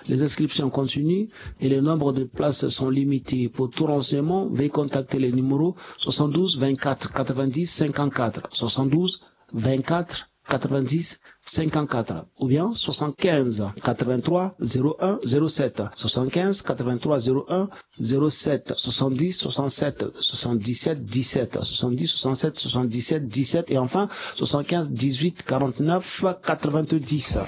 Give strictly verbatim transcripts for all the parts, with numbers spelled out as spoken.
Les inscriptions continuent et le nombre de places sont limitées. Pour tout renseignement, veuillez contacter les numéros soixante-douze vingt-quatre quatre-vingt-dix cinquante-quatre, soixante-douze vingt-quatre quatre-vingt-dix cinquante-quatre ou bien soixante-quinze quatre-vingt-trois zéro un zéro sept, soixante-quinze quatre-vingt-trois zéro un zéro sept, soixante-dix soixante-sept soixante-dix-sept dix-sept, soixante-dix soixante-sept soixante-dix-sept dix-sept et enfin soixante-quinze dix-huit quarante-neuf quatre-vingt-dix.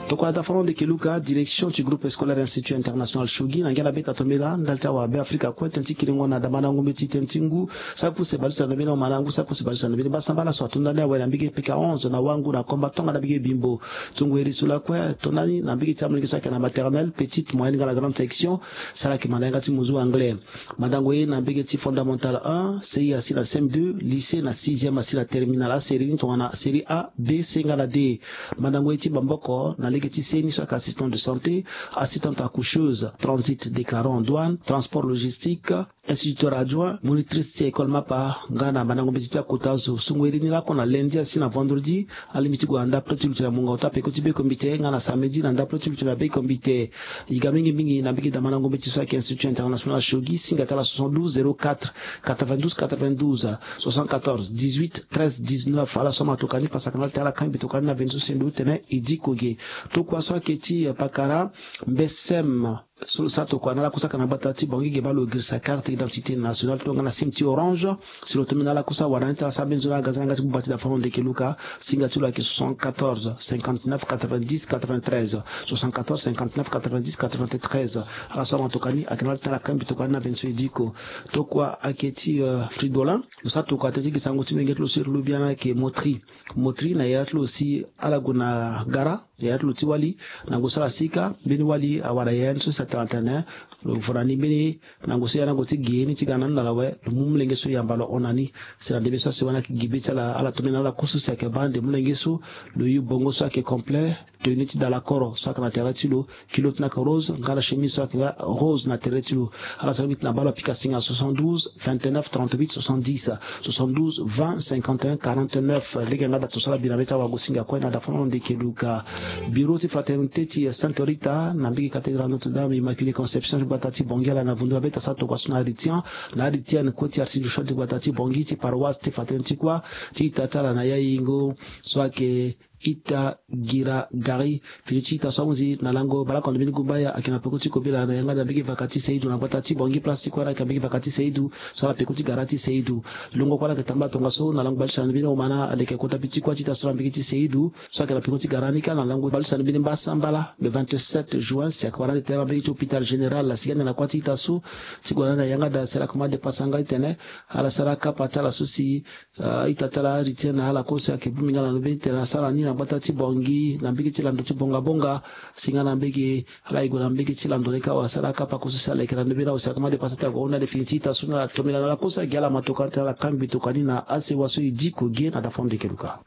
Tokua dafa na ndeke Luka, direction ti groupe scolaire Institut International Shogi, na ngia na beta tombela ndali ti awa Beafrika kue, tënë ti kiringo na damandango mbeti, tënë ti ngu, saki puse baleuse na ndö mbeni, omana ngu saki puse baleuse na ndö mbeni. Basa mbala so atonda ni awe na mbege P K onze na Wangu na Komba Tonga na mbege Bimbo. Ti ngu iri so lakue tonda ni na mbege ti amolenge so ayeke na maternelle, petite, moyenne nga na grande section, si ala yeke manda yanga ti muzu anglais. Mandango ye na mbege ti fondamental un, C I asi na C M deux, lycée na sixième asi na terminal. Asérie ni tongana série A, B, C nga na D. Mandango ye ti maboko na lege ti C ni so ayeke assistant de santé, assistante accoucheuse, transit déclarant en douane, transport logistique, instituteur adjoint, monitrice ti école mapa, nga na mandango mbeti ti akota zo. Sungo iri ni lakue na lundi asi na vendredi, alingbi ti gue na ndapre ti lutu na mungo ota peko ti bekombite, nga na samedi na ndapre ti lutu na bekombite. E ga mingi mingi na mbege damandango mbeti so ayeke Institut International Shogi, singa ti ala soixante-douze zéro quatre quatre-vingt-douze quatre-vingt-douze, soixante-quatorze dix-huit treize dix-neuf. Ala so amatoka ni pasa kana ti ala kangbi toka ni na vingt so si ndo tene e diko ge. Tokua so ayeke ti, eh, pakara mbesem so lo sara tokua na ala kue so ayeke na gbata ti Bangui ge baa lo girisa carte d'identité nationale tongana sim ti orange. Si lo tombela na ala kue so awara ni ti ala sara mbeni zo na ala ga za na yanga ti gbu gbata ti dafa na ndeke Luka, singa ti lo ayeke soixante-quatorze cinquante-neuf quatre-vingt-dix quatre-vingt-treize, soixante-quatorze cinquante-neuf quatre-vingt-dix quatre-vingt-treize. Ala so amatoka ni ayeke na ala ti ala kangbi toka ni na vingt so e diko. Tokua ayeke ti, eh, Fridolin, lo sara tokua tënë ti gi sango ti molenge ti lo so iri lobia ni ayeke Motri. Motri na yaya ti lo si ala gue na gara, yaya ti lo ti wali, na ngu so ala sika mbeni wali awara yaya ni so si atene atene lo vo na ni mbeni na ngu so yaya ni ague ti gi ye ni ti ga na ni na ala awe, lo mu molenge so yamba lo hon na ni. Si na ndembe so asi wani ayeke gi be ti ala, ala tombela na ala kue so si ayeke baa ande molenge so lo yu bongo so ayeke complet, tenue ti dalakoro so ayeke na tere ti lo, kilo ti na ayeke rose nga na chemise so ayeke nga rose na tere ti lo. Ala sara mbi ti na baa lo apika singa soixante-douze vingt-neuf trente-huit soixante-dix, soixante-douze vingt cinquante et un quarante-neuf. Lege yanga da to so ala bi na be ti awagosinga kue na dafa na lo ndeke Luka. Bureau ti fraternité ti Sainte Rita na mbege cathédrale Notre-Dame Immaculée Conception ti gbata ti Bangui ala na vundu na be ti asara tokua so na Aritian, na Aritian kue ti archidiocèse ti gbata ti Bangui ti paroisse ti fraternité kua ti ita ti ala na Yayingo so ayeke Ita Gira Gari. Fini ti ita so ahunzi na lango baleoko na mbeni gumbaya ayeke na peko ti kobela na yanga na mbege vaka ti Seidu na gbata ti Bangui, place ti kue na ayeke na mbege vaka ti Seidu so ala peko ti gara ti Seidu. Longo kue ala yeke tambula tongaso na lango baleuse na mbeni omana aleke kota bi ti kue ti ita so na mbege ti Seidu so ayeke na peko ti gara ni kâ na lango baleuse na mbeni mbasambala le vingt-sept juin si ayeke wara ande tene na mbege ti hôpital général. Asi ga ande na kue ti ita so ti gue na ande na yanga da si ala koma depasa nga ti tene ala sara akapa ti ala so si Ah, ita ti ala Aritian na ala kue so ayeke bongbi nga na ndö mbeni tene asara ni na gbata ti Bangui na mbege ti lando ti bongabonga. Si nga na mbege ala ye gue na mbege ti lando ni kâ wala asara akapa kue so si ala yeke na ndö mbeni awe si akoma depasa ti ague ahunda ande fini ti ita so ni ala tombela na ala kue so agi ala ma tokua ni tene ala kangbi tokua ni na asewa so e diko ge na dafa ndeke Luka.